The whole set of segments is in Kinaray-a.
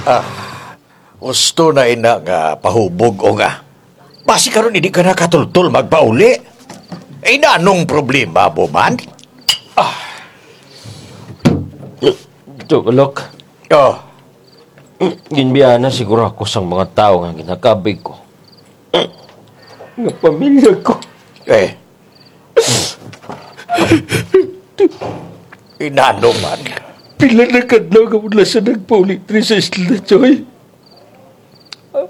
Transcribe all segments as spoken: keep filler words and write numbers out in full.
Ah, husto na ina nga pahubog, Ong, ah. Basi karon indi ka na katultol magpauli. Ay, nanong problema mo man? Ah. Tiyok Alok. Oh. Ginbiyaan na siguro ako sang mga tawo nga ginakabig ko. Nga pamilya ko. Eh. Inano man? Pila na ka adlaw nga wala sa nagpauli diri sa isla, Choy.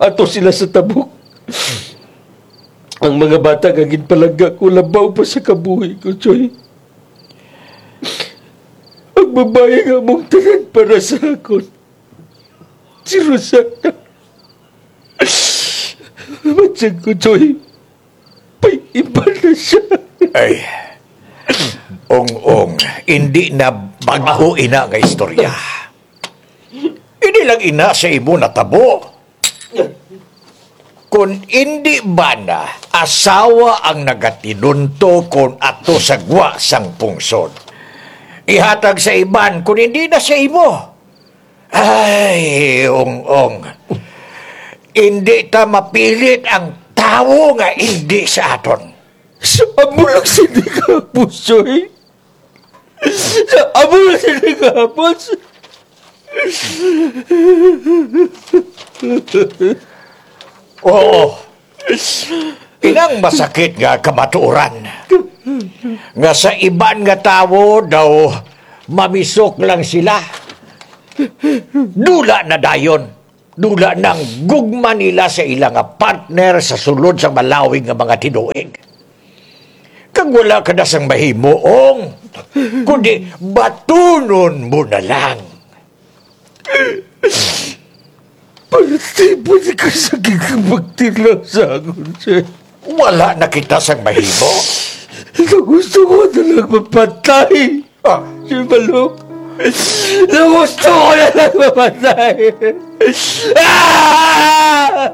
Ato sila sa tabok. Ang mga bata nga ginpalangga ko, labaw pa sa kabuhi ko, Choy. Ang babaye nga among tanan para sa akon, si Rosana. Matyag ko, Choy. Paiban na siya. Ay, Ong-ong, indi na bag-o ina nga istorya. Indi lang ina sa imo natabo. Kon indi bana asawa ang nagatinunto kon ato sa gwa sang pungsod, ihatag sa iban kon indi na sa imo. Ay, Ong-ong. Indi ta mapilit ang tawo nga indi sa aton. Sa amo lang sini kahapon, Choy. Sa amo lang sini kahapon. Oo. Inang masakit nga kamatuoran. Nga sa iban nga tawo daw mamisok lang sila. Dula na dayon. Dula nang gugma nila sa ila nga partner sa sulod sang malawig nga mga tinuig. Kag wala ka na sang mahimo, Ong, kundi batunon mo na lang. Parte po ni ka sa gigabagtilaw sa akon, sir. Wala na kita sang mahimo. Sa gusto ko na lang mapatay. Ah. Sir Balok. Sa gusto ko na lang mapatay. Ah!